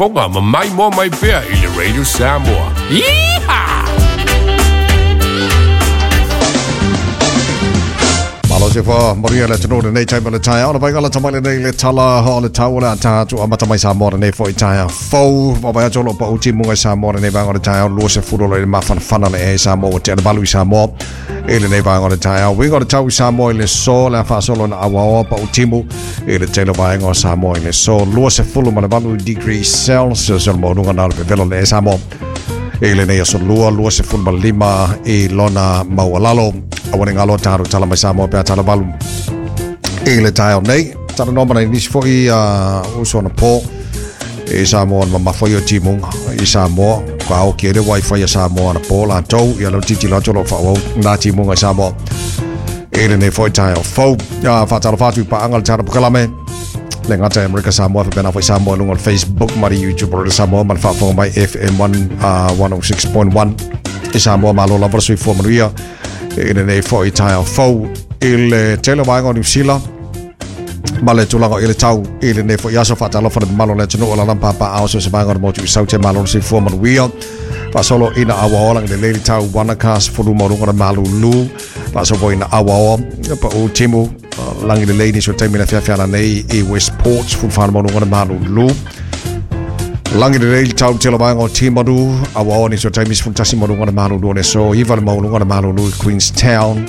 faafofoga ma maimoa mai pea i le Radio Samoa. Yeehaw! Malo se fa maria le tino nei taima le taia. Ona vai gala tamai nei le tala ho le tau le ata atu amata mai Samoa nei fo i taia. Fou wa vai atu lo pa uti munga Samoa nei vanga le taia lo se furo le mawhanawhana le e Samoa te ana balu i Samoa. E le nei vanga le taia. Winga le tau i Samoa i le so le whaasolo na awaoa pa utimu e le tele vaenga o Samoa i le so. Lua se fulu ma le valu degree Celsius o le maununga na le pevelo le e Samoa. E le nei aso lua, lua se fulu ma lima i lona maualalo. Awane ngalo tāru tala mai Samoa pea tala valu. E le taeo nei, tala noma nei nisi foi uso na pō. E Samoa na mafai o timunga i Samoa. Ka au ki ere wifi a Samoa na pō la tau. Ia lau titi loto lo whaawau nā timunga i Samoa. E le nei foi taeo fau. Whaatalo whātu i paanga le tāra pukalame. Le ngata Amerika Samoa, whapena foi Samoa lunga Facebook, mari YouTube, le Samoa, ma le whaafonga mai FM 106.1 i Samoa, malo lava le soifua manuia. E le nei foi taeo fau i le tele vaega o New Zealand. Ma le tulaga i le tau i le nei foi aso whaatalofa le malo le atunuu o la lampa ao se vaega o le motu i Saute, malo le soifua manuia. Faasolo ina awaoa le lele tau Wanaka sefulu mauluga le malulu. Faasolo ina awaoa pa u timu langi le lei ni so taimi le fiafiana nei i Westport sefulu whana mauluga le malulu. Langi le lei tau tele vaega o Timaru awaoa ni so taimi sefulu tasi mauluga le malulu le so iva le mauluga le malulu i Queenstown.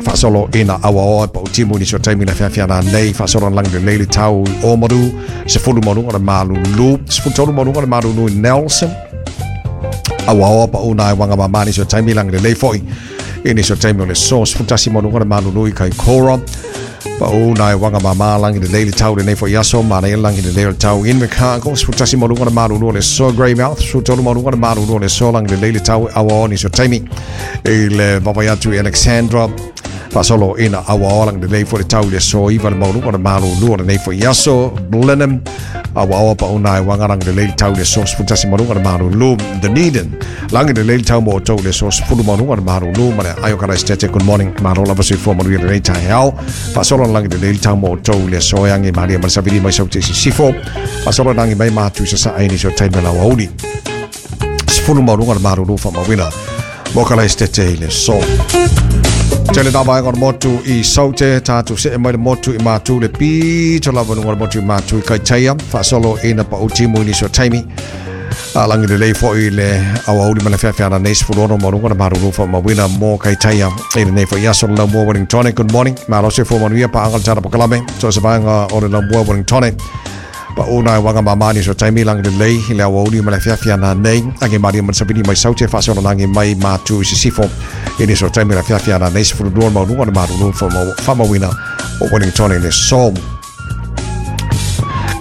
Faasolo ina awaoa pa u timu ni so taimi le fiafiana nei. Faasolo langi le lei tau i Omaru sefulu mauluga le malulu. Sefulu tolu mauluga le malulu i Nelson. Awaoa pa una wanga mamani so taimi langi le lei foi. Ini so taimi o le so sefulu tasi mauluga le malulu i Kaikoura. Pa una wanga mama langi le lei tau le nei foi aso mana langi le lei tau in Invercargill sefulu tasi mauluga le malulu le so Greymouth sefulu tolu mauluga le malulu le so langi le lei tau awaoa ni so taimi i le vavai atu i Alexandra. Faasolo ina awaoa langi le lei foi le tau le so iva le mauluga le malulu le nei foi aso Blenheim awaoa pa una wanga langi le lei tau le so sefulu tasi mauluga le malulu Dunedin langi le lei tau mo tau le so sefulu mauluga le malulu ma le ayo kala estete good morning malo lava soifua manuia le nei taeao. Faasolo langi le lei tau mo tau le so angi maria ma le savili mai sau te sisifo. Faasolo langi mai mātu sa sa aini so taimi la wauli sefulu mauluga le malulu whamawina mo kala estete i le so. Tele nā vaenga o le motu i Saute, tātou se e mai le motu i mātu le pito lava nunga le motu i mātu i Kaitaia, faasolo ina pa utimu i niso taimi. A langi le lei foi le awauli ma le fiafiana nei sefulu ono mauluga le malulu whamawina mo Kaitaia. E le nei foi aso le laumua Wellingtone, good morning. Malo se fua manuia pa anga le tara pakalame, so se vaenga o le laumua Wellingtone. Pa una wanga mamani so taimi langi le lei le awauli ma le fiafiana nei. Ange maria ma le savini mai Saute, faasolo langi mai mātu i sisifo. Ini so taimi le fiafiana nei sefulu lua mauluga le malulu whamawina o Wellingtone le so.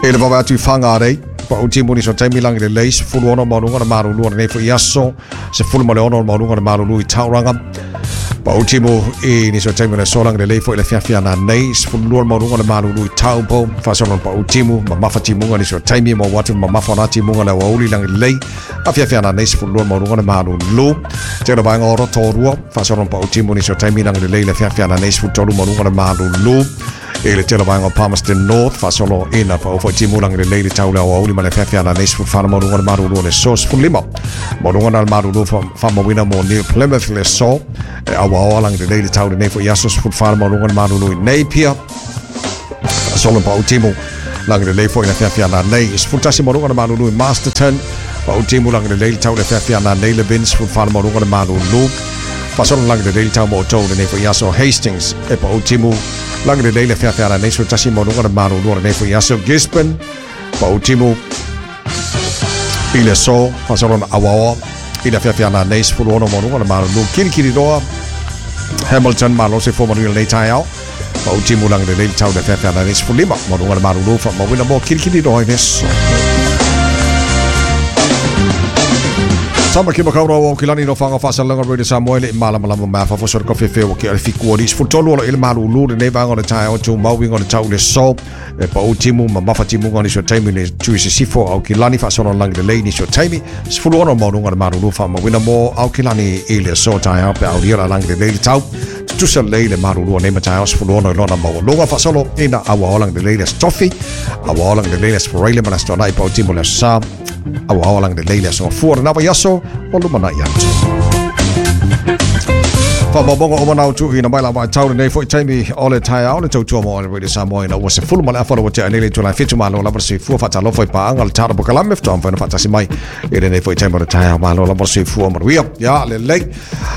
E le vava atu i Whangarei, pa u timu ni so taimi langi le lei sefulu ono mauluga le malulu nei foi aso sefulu ma le ono mauluga le malulu i Tauranga. Pa u timu i ni so taimi le so langi le lei foi le fiafiana nei sefulu lua mauluga le malulu i Taupo. Faasolo pa u timu ma mafa timunga ni so taimi mo watu ma mafa na timunga le wauli langi le lei a fiafiana nei sefulu lua mauluga le malulu. Te le vaenga o Rotorua faasolo pa u timu ni so taimi langi le lei le fiafiana nei sefulu tolu mauluga le malulu. E le tele vaenga o Palmerston North faasolo ina pa ufo timu langi le lei le tau le awauli ma le fiafiana nei sefulu whana mauluga le malulu le so sefulu lima mauluga na le malulu whamawina mo New Plymouth le so e awaoa langi le lei le tau le nei fo iaso sefulu whana mauluga le malulu i Napier. Faasolo pa utimu langi le lei fo i le fiafiana nei sefulu tasi mauluga le malulu i Masterton. Pa utimu langi le lei le tau le fiafiana nei le Vince sefulu whana mauluga le malulu. Faasolo langi le lei le tau mo tau le nei fo iaso Hastings e pa utimu langi le lei le fiafiana nei sefulu tasi mauluga le malulu le nei fo iaso Gisborne. Pa utimu i le so faasolo na awaoa i le fiafiana nei sefulu ono mauluga le malulu Kirikiriroa Hamilton malo se fua manuia le nei taeao. Pa utimu langi le lei le tau le fiafiana nei sefulu lima mauluga le malulu whamawina mo Kirikiriroa i le so. Tama ki makaura o kilani no whanga whasalanga Radio Samoa le malamalama mea whawhosora ka whewhe o ki ale whikua ris futolu olo ile malulu le nei vanga o le tae o tū mauinga o le tau le so e pa o timu ma mafa timu ngani so taimi le tui se sifo au kilani whasolo langi le lei ni so taimi sefulu ono maununga le malulu whamawina mo au kilani i le so tae au pe au ria langi le lei le tau Tutusa lelei le malulua nei ma taeao 16 i lona maualuga faasolo ina aua ola lelei le Aso Tofi, aua ola lelei le Aso Faraile ma le Aso Toonai Pau Timo le Aso Sa, aua ola lelei le Aso Gafua o lena vaiaso o lumanai atu. Faamaumauga uma na tuuina mai la vaitau lenei foi taimi o le taeao le tautua mo le Radio Samoa ina ua 10:30 ua tea nei le itula e 7. Malo lava le soifua, faatalofa i paaga le tala pokalame faatoa mafai ona faatasi mai i lenei foi taimi o le taeao. Malo lava le soifua manuia. Ia lelei.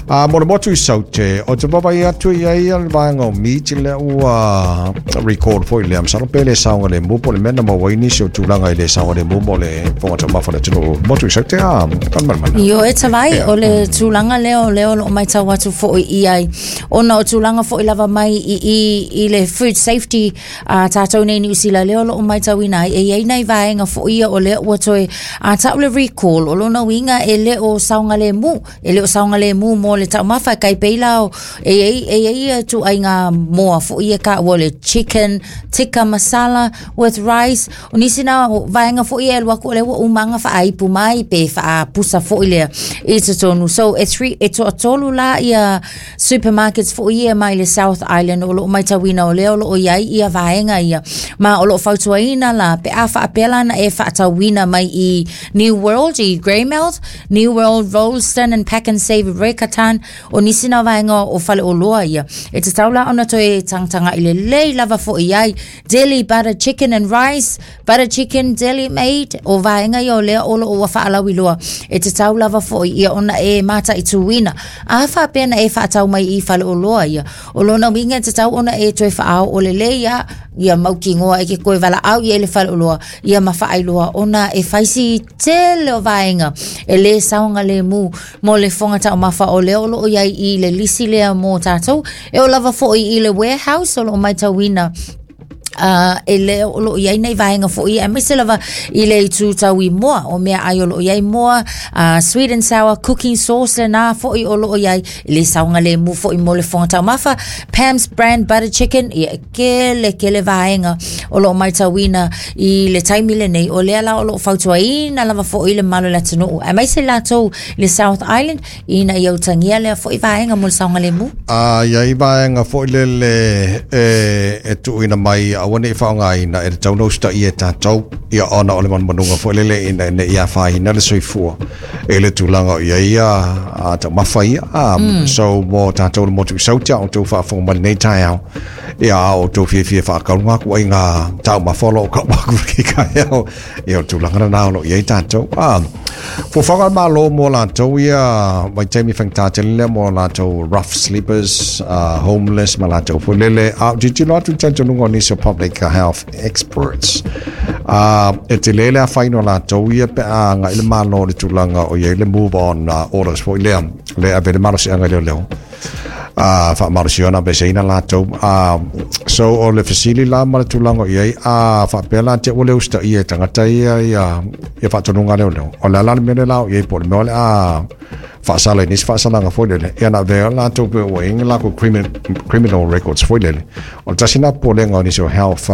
A mo le motu i Saute, o te vaavaai atu i ai le vaega o meat lea ua record foi lea. Masalo pe le saogalemu po o le mea na maua ai nisi o tulaga i le saogalemu mo le fofoga taumafa o le atunuu motu i Saute a Falemalamaina. Ioe e Tavai, o le tulaga lea o lea o lo o matau atu foi i ai, ona o tulaga foi lava mai i i i le food safety a tatou nei i Niu Sila lea o lo o matauina ai, e i ai nai vaega foi ia o lea ua toe a tau le recall, o lona uiga e le o saogalemu. E le o saogalemu mo le taumafa e kai pei la o e i ai e i ai ia ituaiga moa foi e taua o le chicken tikka masala with rice. O nisi na o vaega foi e alu atu o lea ua uma ona faaaipu mai pe faapusa foi lea i totonu. So e three e toatolu la ia supermarkets foi ia mai le South Island o lo o matauina o lea o lo o i ai ia vaega ia. Ma o lo o fautuaina la pe a faapea la na e faatauina mai i New World i Greymouth, New World, Rolleston and Pak'nSave Riccarton, o nisi na vaega o faleoloa ia. E tatau la ona toe tagatagai lelei lava foi i ai. Deli butter chicken and rice, butter chicken deli made, o vaega ia o lea o lo o ua faalauiloa. E tatau lava foi ia ona e mataituina. A faapea na e faatau mai i faleoloa ia, o lona uiga e tatau ona e toe faaoo lelei ia, ia mautinoa e ke toe valaau i ai le faleoloa, ia ma faailoa ona e fai si tele o vaega e lē saogalemu mo le fofoga taumafa o lea o lo o i ai i le lisi lea mo tatou. E oo lava foi i le warehouse o lo o matauina e le o lo o i ai nei vaega foi aemaise lava i le itu tau i moa o meaai o lo o i ai moa, sweet and sour cooking sauce lena foi o lo o i ai e lē saogalemu foi mo le fofoga taumafa. Pam's brand butter chicken, ia e kele kele vaega o lo o matauina i le taimi lenei o lea la o lo o fautuaina lava foi le mamalu o le atunuu aemaise latou i le South Island ina ia utagia lea foi vaega mo le saogalemu. A i ai vaega foi lele e, e tuuina mai aua ne i faaaogaina e tatau ona usitaia e tatou, ia ona o le manumanuga foi lele ina ne i afaina le soifua i le tulaga o i ai ia a taumafa ia. So mo tatou le motu i Saute a o outou faafofoga mai lenei taeao, ia a o outou fiafia e faatauga atu ai ngā taumafa o lo o kau atu i taeao, ia o le tulaga lena o lo o i ai tatou. Fuafuaga a le Malo mo latou ia vaitaimi faigata tele lea mo latou rough sleepers, homeless ma latou foi lele. A o tilotilo atu i le talitonuga o nisi o public health experts, e tele le afaina o latou ia pe a agai le Malo i le tulaga o i ai le move on orders foi lea, le ave le malosiaga i leoleo. A faamalosia ona aveeseina latou. So o le fesili la ma le tulaga o i ai, a faapea la te ua le usitaia e tagata ia ia ia faatonuga a leoleo, o le a la le mea lea la o i ai po o le mea o le a faasala i nisi faasalaga foi lele, ia na avea latou pe ua i ai ni latou criminal records foi lele. O le tasi lena popolega o nisi o health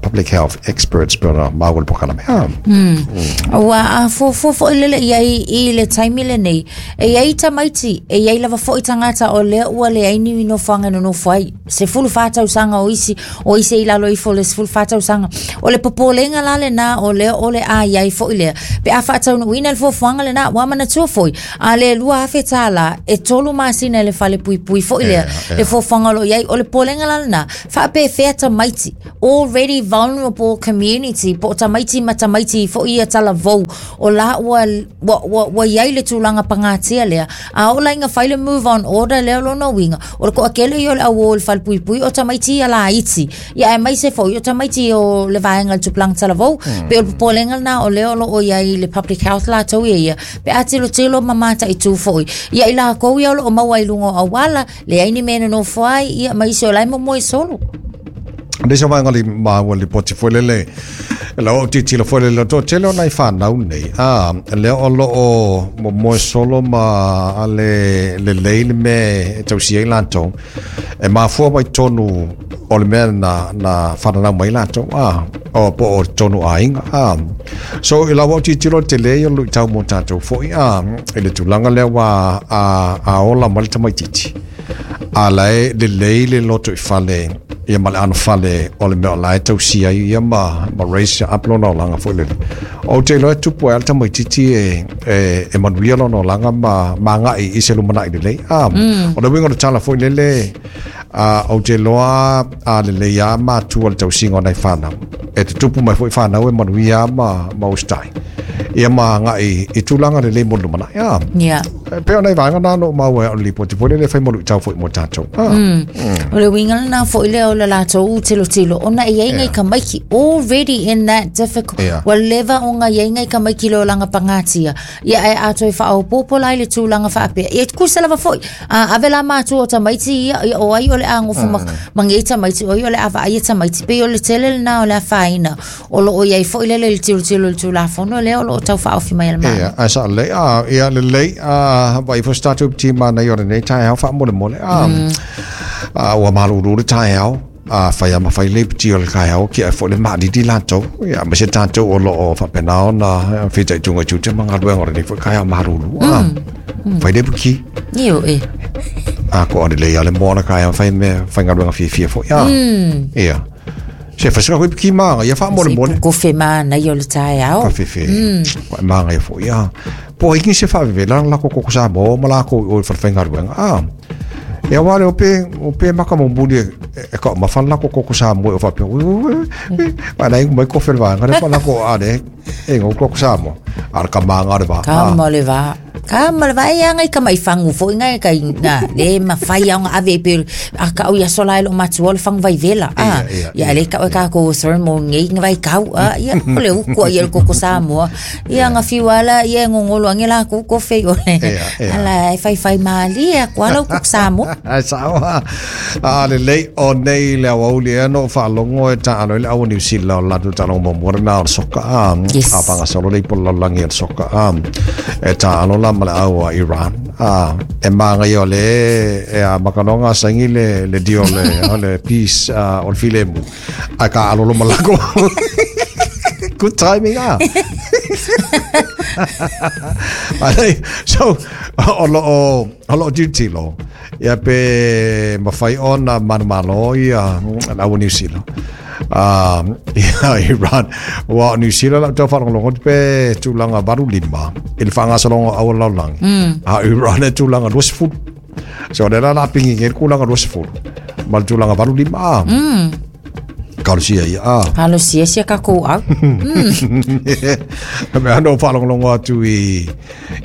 public health experts pe ona maua le polokalame. Ua afuafua foi lele i ai i le taimi lenei. E i ai tamaiti, e i ai lava foi tagata o lea ua leai ni nofoaga e nonofo ai. 14 tausaga o isi, o isi i lalo ifo o le 14 tausaga. O le popolega la lena o lea o le a i ai foi lea. Pe a faataunuuina le fuafuaga lena, ua manatua foi, a le $2,000 e 3 masina i le fale puipui foi lea, le fuafuaga o lo o i ai. O le popolega la lena, faapefea tamaiti, already vulnerable community, po o tamaiti ma tamaiti foi ia talavou, o la ua, ua, ua, ua i ai le tulaga pagatia lea. A oo la ina fai le move on order lea o lona uiga, o le toatele ia o le au o i le fale puipui o tamaiti ia laiti. Ia aemaise foi o tamaiti o le vaega o le tupulaga talavou. Pei o le popolega lena o lea o lo o i ai le public health latou ia ia, pe a tilotilo ma mataitu foi. Ia i latou ia o lo o maua i luga o auala, leai ni mea e nonofo ai, ia ma isi o la e momoe solo. Nisi o vaega li maua lipoti foi lele, e lau au tilotilo foi lele, o toatele o nai fanau nei, a, lea o lo o momoe solo ma a le lelei le mea e tausia ai latou, e mafua mai tonu o le mea na whananau mai latou, a, o po o tonu aiga, a. So i lau au tilotilo le tele ia o le luitau mo tatou foi, a, i le tulaga lea ua a ola mai le tamaitiiti. A lae lelei le loto i fale ia ma le anofale o le mea o lae tausia ai ia ma raise up lona olaga foi lele. Ou te iloa e tupu ai lava le tamaitiiti e manuia lona olaga ma agai i se lumanai lelei. O le uiga o le tala foi lele, ou te iloa a lelei lava matua i le tausiga o nai fanau, e tutupu mai foi fanau e manuia lava ma usitai ia ma agai i tulaga lelei mo le lumanai. Yeah. E pei o nai vaega na na ou maua ai o le lipoti foi lele e fai ma luitau foi mo tatou. O le uiga lena foi lea o le latou tilotilo ona e iai ngai tamaiti already in that difficult ua leva ona iai ngai tamaiti i le olaga pagatia ia ae a toe faaopoopo la i le tulaga faapea ia tusa lava foi a ave la matua o tamaiti ia ia o ai o le a nofo ma nei tamaiti o ai o le a vaai ia tamaiti pei o le tele lena o le afaina o lo o i ai foi lele i le tilotilo i le Tulafono lea o lo o tau faaofi mai e le Malo. Ia, ae sao lelei, a, ia lelei, a, vaai foi se tatou ti manaia o lenei taeao faamolemole, a, a, ua malulu le taeao, a fai lava ma fai le iputi o le taeao, kia ai foi le maalili latou, ia, aemaise tatou o lo o faapena ona fitaituga i tiute ma galuega o lenei foi taeao malulu, a, fai le iputi. Ioe. A, ko lelei lava le moa o le taeao, fai mea, faigaluega fiafia foi, a, ia. Se fai koe ki māngaia faamolemole. Se kofe mānaia o le taeao. Ka fefe. Wa māngaia foi a. Po ai se faavevela la ko ko Samoa ma lākou i o i falefaigaluega. A. E aua le ope ope maka momuli e ka ma la ko ko Samoa o faapea. Wa lai mai kofe le vaega le fa la ko a le e ngau ko Samoa. A le ka mānga le va. Ka ma le va. Ka ma le va e anga i ka mai fangu foi ngai ka na le ma fai anga ave pe a ka o ia sola e lo matua o le fangu vai vela. A ia le ka o ka ko thermo ngai ngai vai kau a ia o le uku ia le koko Samoa. Ia nga fiu ala ia ngongolo ange la ku ko fe o le. Ala e fai fai mali a ko ala ku Samoa. Ai sao a le lei o nei le awauli e no whaalongo e taalo i le awa New Zealand o latu taalo mo mua na o le soka a Yes. a panga solo le ipo lalagi o le soka a e taalo la ma le awa Iran a e maangaia o le e a makanonga saigi le le dio le o le peace o le filemu a ka alolo malako. Good timing ah. Alei, so o lo o o lo tilotilo ia pe mafai ona manumalo ia le aua New Zealand. Ia Iran ua o New Zealand lau tau faalogologo atu pe tulaga 85 i le faagasologa o aua lalolagi. A o Iran e tulaga 20. So o lea la o le a pigigi ai le kulaga 20 ma le tulaga 85 a. Kalosia ia a. Kalosia sia kakou au. Mea no faalogologo atu i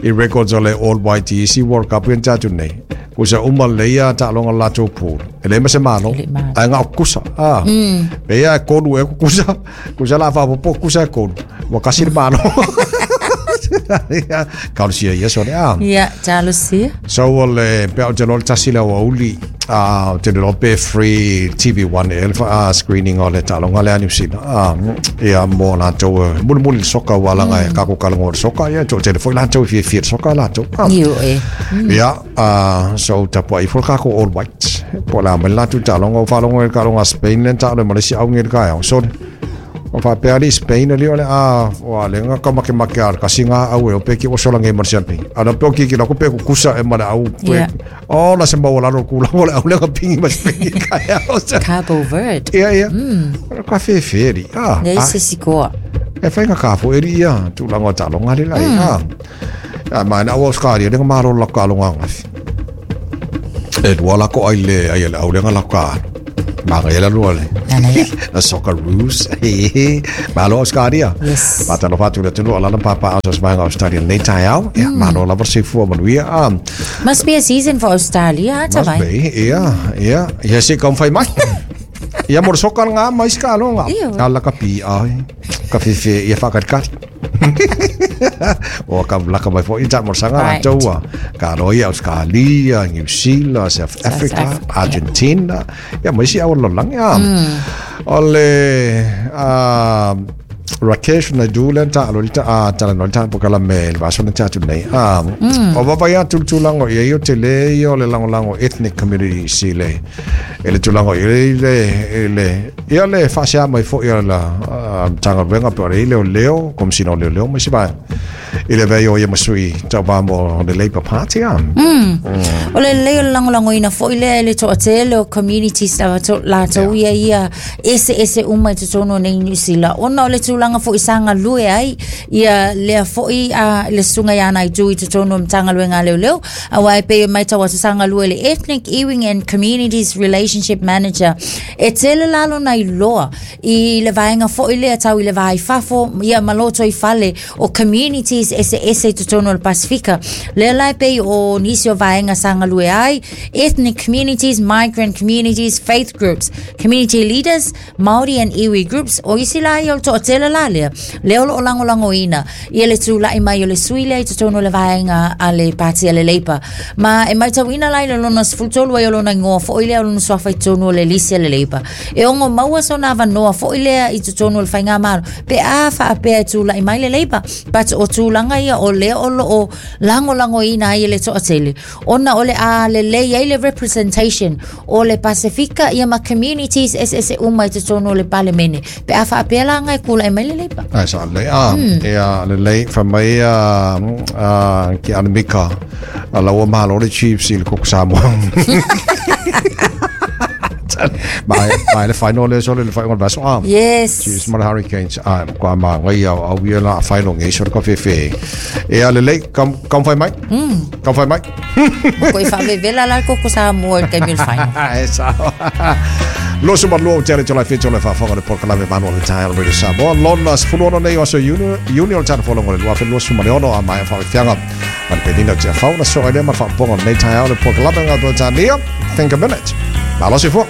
i records o le All White i isi World Cup ia na tatou nei. Kusa uma lelei ia taaloga o le latou pool. E leai ma se malo, ae na o kusa. A. Pei lava e kolu ea ku kusa, kusa o le a faaopoopo kusa e kolu. Ua kasi le malo. Kalosia ia sole a. Ia, talosia. So o le pea o te loa le tasi le aoauli a o te iloa pe free TV1 ea le screening o le taaloga lea a New Zealand a ia mo latou e mulimuli le soka ua laga e kako kalagoa le soka ia toatele foi latou e fiafia i le soka latou a Ioe. ia so tapuai ifo le kako All Whites po o le a mai le latou taaloga ua faalogo i le taaloga a Spain lea na taalo ai ma le isi auge i le taeao sole O faapea alii Spain alii o le a ua le nga ka makemake a le kasi nga au e ope ki oso langi ma le sialpingi. A na pe o kiki la ko pe kukusa e ma le au pe. Yeah. O la se maua lalo ku la le au le ka pingi ma Spain ka e au. Cabo Verde. Ia ia. Ka whewhe ri. Ah. Nei se sikoa. E whainga ka fo eri ia tūlanga o talonga le lai. Ah. A mai na au Australia le nga maro la ka alonga ngafi. E lua la ko ai le ai le au le nga la ka. Manga ia la lua le. Nana ia. The Socceroos. Malo Australia. Yes. Faatalofa atu i le atunuu o lana papa aso se vaega Australia nei taeao. Ia, malo lava le soifua manuia. Ah, Must be a season for Australia, must tavai. be. Ia, ia. Ia se kaumafai mai. Ia mo le soka ngā mai se kalo ngā. Ia. Ala ka pi ai. Ka fefe ia whakatikati. O ka laka mai foi ta mo sanga Right. right. Taua. Ka roi Australia, New Zealand, South Africa, Africa, Argentina. Ia mai si au lolang ia. O le Rakesh Naidu le ta alo ta a ta no ta po kala me le vaso na tatu nei. O vava ia tulatulango ia i o te le ia o le langolango ethnic community si le e le tulaga i le i le ia le faasea mai foi a la Matagaluega pe o le leoleo, Komesina o Leoleo ma isi vaega. I le vei o ia masui tau vā mo le Labour Party a. O le lelei o le lagolagoina foi lea e le toatele o communities lava to, latou ia ia eseese uma i totonu o nei Niu Sila ona o le tulaga foi sa galue ai ia lea foi a le susuga ia Naidu i totonu o Matagaluega a Leoleo aua e pei e matau atu sa galue le Ethnic Iwi and Communities Relationship Manager e tele la lona iloa i le vaega foi lea tau i le va i fafo ia ma loto i fale o communities eseese i totonu o le Pasifika. Lea la e pei o nisi o vaega sa galue ai, ethnic communities, migrant communities, faith groups, community leaders, Māori and iwi groups, o isi la ia o le toatele la lea, lea o lo o lagolagoina ia le tula'i mai o le sui lea i totonu o le vaega a le Pati a le Labour. Ma e matauina la i le lona 13 ai o lona igoa foi lea o lona suafa i totonu o le lisi a le Labour. E ono maua sona avanoa foi lea i totonu o le faigamalo pe a faapea e tula'i mai le Labour. But o tulaga ia o lea o lo o lagolagoina ai e le toatele ona o le a lelei ai le representation o le Pasifika ia ma communities eseese uma i totonu o le Palemene. Pe a faapea la ngai kula e mai le Labour. Ai sa le a e a le lei fa mai a a ki ana mika a laua malo le Chiefs i le koko Samoa. Mai mai le final le so le final vaso a. Yes. Chiefs ma le Hurricanes a kwa ma ngai au au ia la final ngai so ka fefe. E a le lei kam kam fai mai. Kam fai mai. Ko i whaavevela la koko Samoa i le taimi o le final. E sa. Loso ma lua o te ale te lai whawhanga le porkalame manu o le tae Radio Samoa. Lona 16 nei o aso Iuni, Iuni o le tana wholongo le 2026 a mai whawhianga. Ma le penina o te awhauna soa i lea ma whaponga o nei tae o le porkalame ngā tua tānia. Think a minute. Malo se fua.